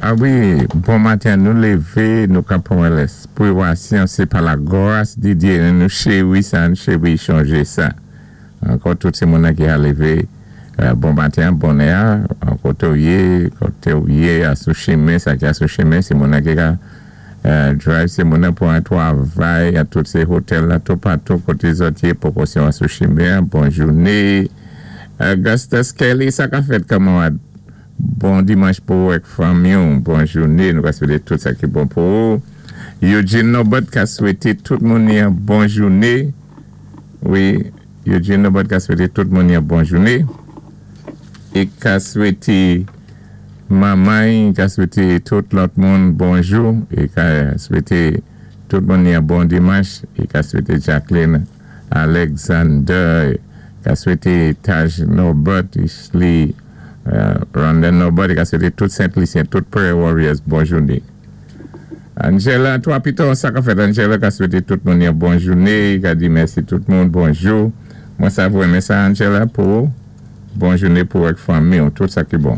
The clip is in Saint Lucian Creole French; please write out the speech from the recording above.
A wi, bon maten, nou lévé, nou ka pwan lèspwiwasyon, sé pa lagwas di Dye, nou chéwi sa, nou chéwi chonjé sa. Ankò tout sé moun-nan ki a lévé, bon maten, bonè, koté ou yé, koté ou yé, asou chimen, sa ki asou chimen, sé moun-nan ki ka drive, sé moun-nan pou an twavay, a tout sé hotèl la, toupatou, koté zòt yé, pwokosyon asou chimen, bon jouné. Augustus Kelly, sa ka fèt kanmarad? Bon dimanch pou ou ak fanmi ou. Bon jouné, nou ka swété tout sa ki bon pou ou. Eugene Norbert ka swété tout moun yon bon jouné. Wi, Eugene Norbert ka swété tout moun yon bon jouné. É ka swété manman, ka swété tout lòt moun bonjou. É ka swété tout moun yon bon dimanch. É ka swété Jacqueline Alexander, ka swété Taj Norbert, Ishley, Rondon Norbert, ka swété tout Sent-Lisyen, tout Prayer Warriors, bon jouné. Angela, twa pito, sa ka fèt Angela ka swété tout moun yon bon jouné, ka di mèsi tout moun, bonjou. Mwen sa vwé men sa Angela pou ou. Bon jouné pou ak fanmi ou, tout sa ki bon.